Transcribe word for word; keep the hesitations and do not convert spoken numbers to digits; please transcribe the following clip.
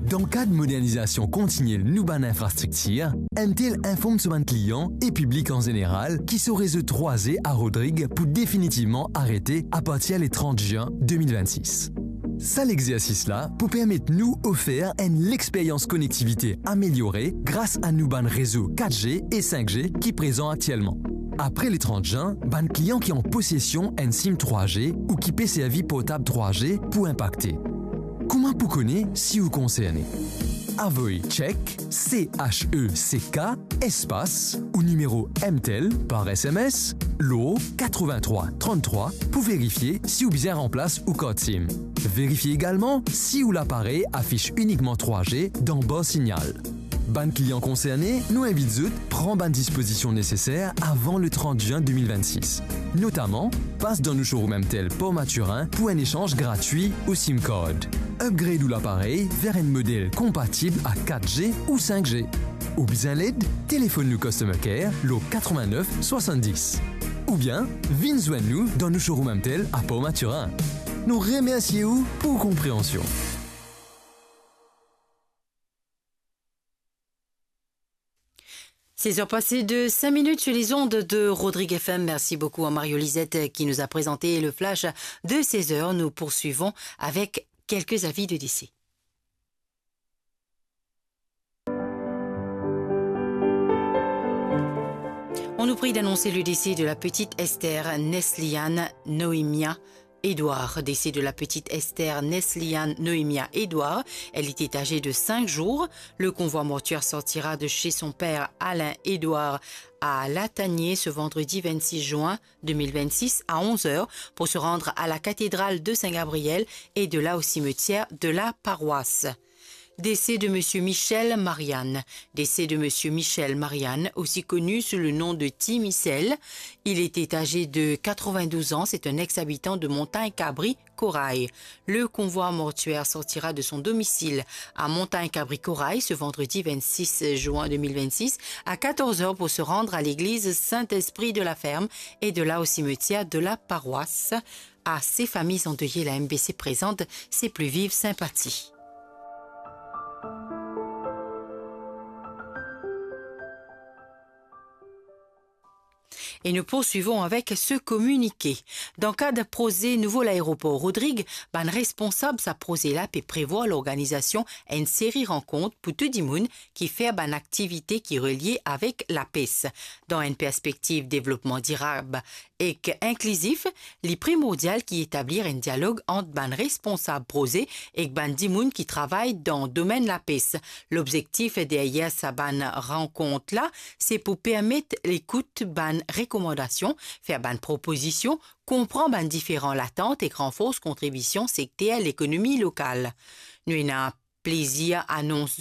Dan kad modernizasion kontiniel nou bann infrastriktir, M T L inform so bann klian e piblik an zeneral ki so rezo trwa G a Rodrig pou definitivman arete apartir le trant zin de mil vennsis. Sa lexersis la pou permet nou ofer enn lexperyans konektivite ameliore gras a nou bann rezo kat G e sink G ki prezan aktielman. Apre le trant zin, bann klian ki an posesion enn sim trwa G ou ki pe servi portab trwa G pou inpakte. Kouma pou kone si ou konserne? Avoy check, C H E C K, espas, ou nimero M T L par S M S, lor katrevin-trwa trant-trwa pou verifie si ou bizin ranplas ou kart sim. Verifie egalman si ou laparey afis inikman trwa G dan bar signal. Bann klian konserne, nou invit zot pran bann dispozision neseser avan le trant zin de mil vennsis. Notaman, pas dan nou showroom M T L Port Mathurin pou enn esanz gratwi ou sim card. Upgrade ou laparey ver enn model konpatib a kat G ou sink G. Ou bizin led? Telefonn nou Customer Care lor katrevin-nef swasann-dis. Oubien, vinn zwenn nou dan nou showroom M T L a Port Mathurin. Nou remersie ou pou ou konpreansion. Seize heures passées de cinq minutes sur les ondes de Rodrigue F M. Merci beaucoup à Mario Lisette qui nous a présenté le flash de seize heures. Nous poursuivons avec quelques avis de décès. On nous prie d'annoncer le décès de la petite Esther Nesliane Noémia Édouard, décès de la petite Esther Nesliane Noémia Édouard. Elle était âgée de cinq jours. Le convoi mortuaire sortira de chez son père Alain Édouard à Latanier ce vendredi vingt-six juin deux mille vingt-six à onze heures pour se rendre à la cathédrale de Saint-Gabriel et de là au cimetière de la paroisse. Décès de monsieur Michel Marianne. Décès de monsieur Michel Marianne, aussi connu sous le nom de Ti Michel. Il était âgé de quatre-vingt-douze ans, c'est un ex-habitant de Montagne Cabri, Corail. Le convoi mortuaire sortira de son domicile à Montagne Cabri, Corail ce vendredi vingt-six juin deux mille vingt-six à quatorze heures pour se rendre à l'église Saint-Esprit de la Ferme et de là au cimetière de la paroisse. À ces familles endeuillées, la M B C présente ses plus vives sympathies. E nou poursuivon avek se kominike. Dan kad proze nouvo laeropor Rodrig, bann responsab sa proze la pe prevwar lorganizasion enn seri rankont pou tou dimoun ki fer bann aktivite ki relie avek lapes. Dan enn perspektiv devlopman dirab ek inklizif, li primordial ki etablir enn dialog ant bann responsab proze ek bann dimoun ki travay dan domenn lapes. Lobzektif deryer sa bann rankont la, se pou permet ekout bann rekomandasion, fer bann propozision, konpran bann diferan latant ek ranfors kontribision sekter lekonomi lokal. Nou ena plezir anons